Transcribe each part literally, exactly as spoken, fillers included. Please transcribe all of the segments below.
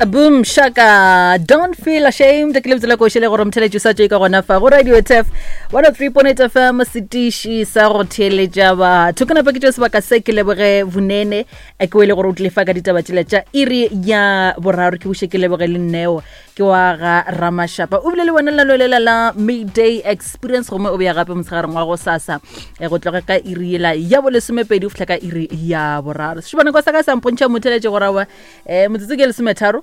Boom Shaka, Don't Feel Ashamed. Ke lebitso la koši le gore motheletši sa tšwe ka gona fa go Radio T F one oh three point eight F M, setiši sa go theeletša batho. Ke napa ke tšeo sebaka se ke leboge Vunene, eh, ke o ile gore o tlile fa ka ditaba tšela tša iri ya boraro. Ke buše ke leboge le Nneo, ke wa ga Ramashapa, o bile le wena lenaneo lela la Midday Experience, gomme o beya gape motshegareng wa go sasa, eh, go tloga ka iri yela ya bolesomepedi go fihla ka iri ya boraro. Sešupanako sa ka sa mpontšha motheletše gorawa um motsotso ke lesometharo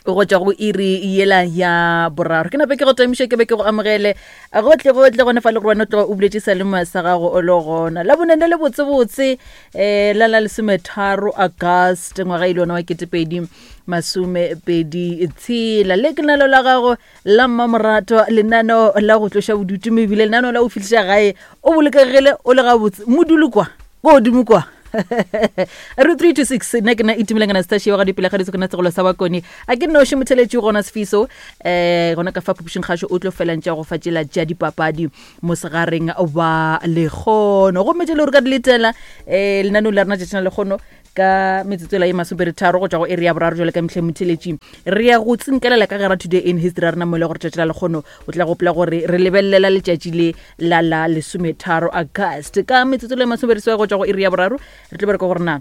go tšwa go iri yela ya boraro. Ke nape ke go tamiše, ke be ke go amogele gotle gotle gone fa le gore wena o tloga o buletše salema sa gago o le gona la bonene le botsebotse um la la lesometharo August ngwaga ile ona wa ketepedi masomepedi tshela. Le ke lenaneo la gago la mmamorato, lenaneo la go tloša bodutu, mebile lenaneo la go fihliša gae o bolokegile, o le gabotse modulu kwa ko godimo kwa re three two six. Nna ke na Itumeleng Anastasia wa ga dipele ga ditso, ke na segolo sa bakone a ke noši motheletši gona Sefiso um gona ka fa phupušeng kgašo o tlo felantša go fa tšela tša dipapadi mosegareng wa lekgono, gomme tše le gore ka di letela um lenaneo la rena tšatšina lekgono ka metsotso la ye masomepedi-tharo go tšwa go area ya boraro. Jale ka mehleng motheletši re ya go tsinkelela ka gara Today in History ya rena, mo e le gore tšatši la lekgono o tla gopola gore re lebelelela letšatši le la la lesometharo August. Ka metsotso le masomepedi go tšwa go iri ya boraro re tlo bereka gore na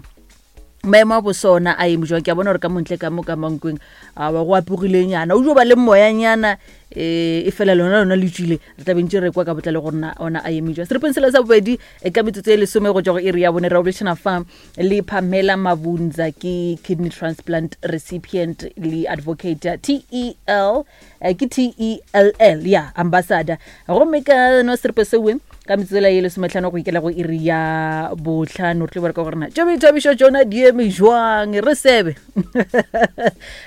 maemo a bosona a eme jwang. Ke a bona gore ka montle ka mo ka Mankweng a wa go apogilenyana, o jo ba le moyanyana um e fela lona lona le tswile. Re tla bentse re kwa ka botlalo gore na ona a eme jwang. Seripeng sela sa bobedi, eh, ka metsotso e lesome go tswa go iri ya bone, re boledišana fa le Pamela Mabunza, ke kidney transplant recipient le advocate ya T E L, eh, ke T E L L ya ambassador. Gomme ka no seripe sewe ka metsotso la ye lesometlhano go ikela go iri ya botlhano re tlo bereka gore na tšo boithabišo tšona di eme jwang, re sebe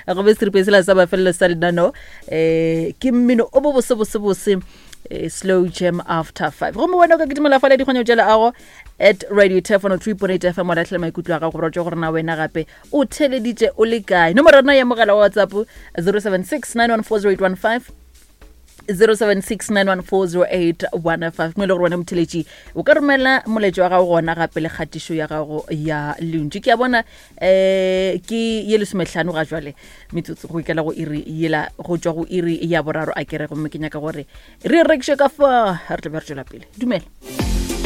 gobe seripe sela sa mafelelo sa lenano um ke mmino o bo bose bose bose, eh, slow jam after five. Gomme wena o ka kitimela fale dikgonyo tša leago at Radio Tef one oh three point eight F M, wa latlhela maikutlo a gago gore tšwe gore na wena gape o theleditše o le kae. Nomoro rena ya mogala wa WhatsApp zero seven six nine one four zero eight one five, zero seven six nine one four zero eight one five, mo e le gore wena motheletši o ka romela moletšo wa gago gona gape le kgatišo ya gago ya lentšu. Ke a bona um ke ye lesometlhano ga jwale metsotso go ikela go iri yela go tšwa go iri ya boraro a kere, gomme ke nyaka gore re rekiše ka fa re tla be re tšwela pele. Dumela.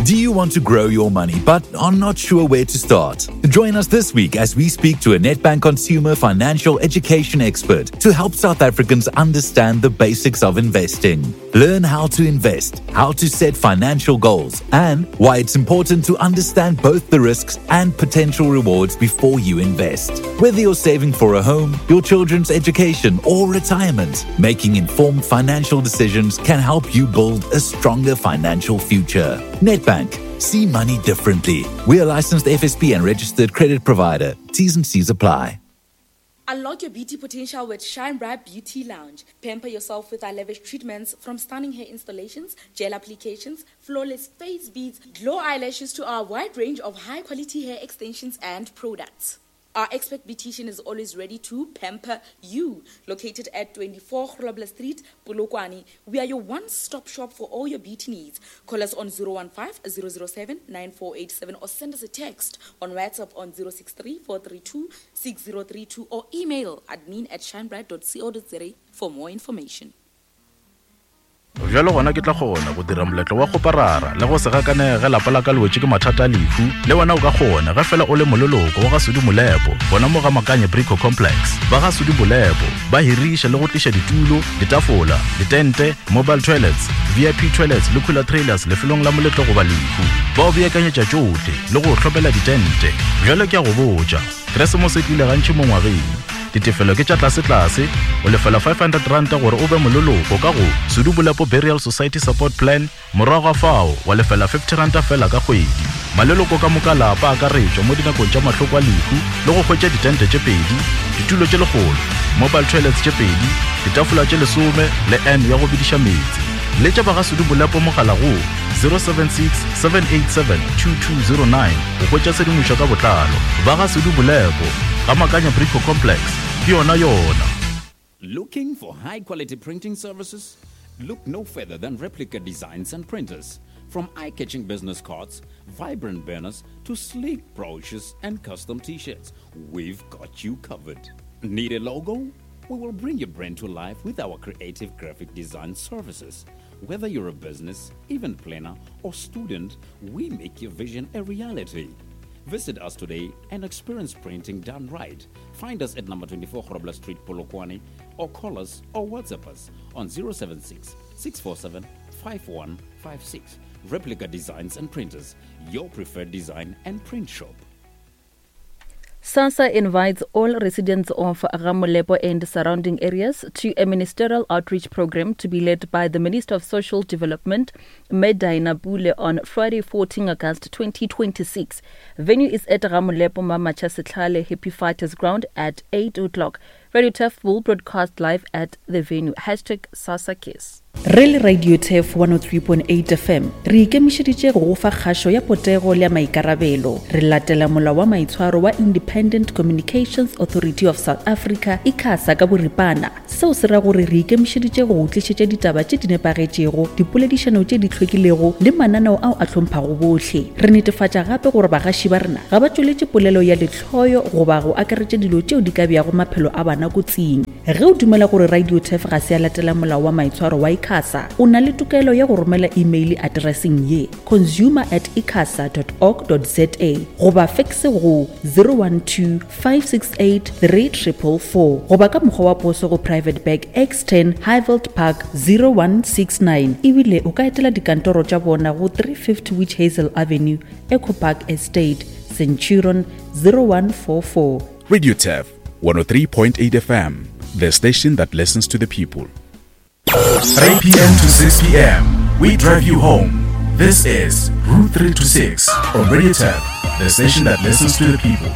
Do you want to grow your money but are not sure where to start? Join us this week as we speak to a Nedbank consumer financial education expert to help South Africans understand the basics of investing. Learn how to invest, how to set financial goals, and why it's important to understand both the risks and potential rewards before you invest. Whether you're saving for a home, your children's education, or retirement, making informed financial decisions can help you build a stronger financial future. Nedbank. See money differently. We are licensed F S P and registered credit provider. T's and C's apply. Unlock your beauty potential with Shine Bright Beauty Lounge. Pamper yourself with our lavish treatments, from stunning hair installations, gel applications, flawless face beads, glow eyelashes to our wide range of high quality hair extensions and products. Our expert beautician is always ready to pamper you. Located at twenty-four Grobler Street, Polokwane, we are your one-stop shop for all your beauty needs. Call us on zero one five zero zero seven nine four eight seven or send us a text on WhatsApp on zero six three four three two six zero three two or email admin at shinebright dot co dot za for more information. Bjalo gona ke tla kgona go dira moletlo wa kgoparara le go se gakanege lapa la ka le wetše ke mathata a lehu. Le wena o ka kgona ge fela o le moleloko wa ga Sudi Molepo gona mo ga Makanye Brico Complex. Ba ga Sudi Molepo ba hiriša le go tliša ditulo, ditafola, ditente, mobile toilets, V I P toilets le cooler trailers lefelong la moletlo goba lehu. Ba o beakanyetša tšohle le go hlopela ditente. Bjalo ke a go botša, Keresemose e tlile gantši mo ngwageng. Ditefelo ke tša tlasetlase, o lefela five hundred ranta gore o be moleloko ka go Sedubolepo Burial Society Support Plan. Morago ga fao wa lefela fifty ranta fela ka kgwedi. Maleloko ka moka lapa akaretšwa mo dinakong tša mahloko a lehu le go hwetša ditente tše pedi, ditulo tše lekgolo, mobile toilets tše pedi, ditafola tše lesome le n ya go bediša meetse. Letša ba ga Sedubolepo mogala go zero seven six seven eight seven two two zero nine go hwetša tshedimošo ka botlalo. Ba ga Sedubolepo ga Makanya Brico Complex ke yona yona. Looking for high quality printing services? Look no further than Replica Designs and Printers. From eye catching business cards, vibrant banners to sleek brochures and custom t-shirts, we've got you covered. Need a logo? We will bring your brand to life with our creative graphic design services. Whether you're a business, event planner, or student, we make your vision a reality. Visit us today and experience printing done right. Find us at number twenty-four Grobler Street, Polokwane, or call us or WhatsApp us on zero seven six, six four seven, five one five six. Replica Designs and Printers, your preferred design and print shop. SASSA invites all residents of Ga-Molepo and surrounding areas to a ministerial outreach program to be led by the Minister of Social Development, Medina Pule, on Friday, fourteenth August twenty twenty-six. Venue is at Ga-Molepo Mamacha Setlhale Happy Fighters Ground at eight o'clock. Radio Turf will broadcast live at the venue. Hashtag SASSA Kiss. Re le Radio Turf one oh three point eight F M re ikemišeditše go go fa kgašo ya potego le ya maikarabelo. Re latela molao wa maitshwaro wa Independent Communications Authority of South Africa, ICASA ka boripana. Seo se ra gore re ikemišeditše go go tlišetša ditaba tše di nepagetšego, dipoledišano tše di hlwekilego le mananeo ao a hlomphago bohle. Re netefatša gape gore bagaši ba rena ga ba tšweletše polelo ya lehloyo goba go akaretša dilo tšeo di ka beago maphelo a bana kotsing. Ge o dumela gore Radio Turf ga se ya latela molao wa maitshwaro wa ICASA, o na le tokelo ya go romela email addresseng ye consumer at icasa dot org dot za goba fax go zero one two, five six eight, three triple four goba ka mokgwa wa poso go Private Bag X ten Highveld Park zero one six nine. Ebile o ka etela dikantoro tša bona go three fifty Witch Hazel Avenue, Eco Park Estate, Centurion zero one four four. Radio Turf one oh three point eight F M, the station that listens to the people. three p m to six p m, we drive you home. This is Route three to six on Radio Turf, the station that listens to the people.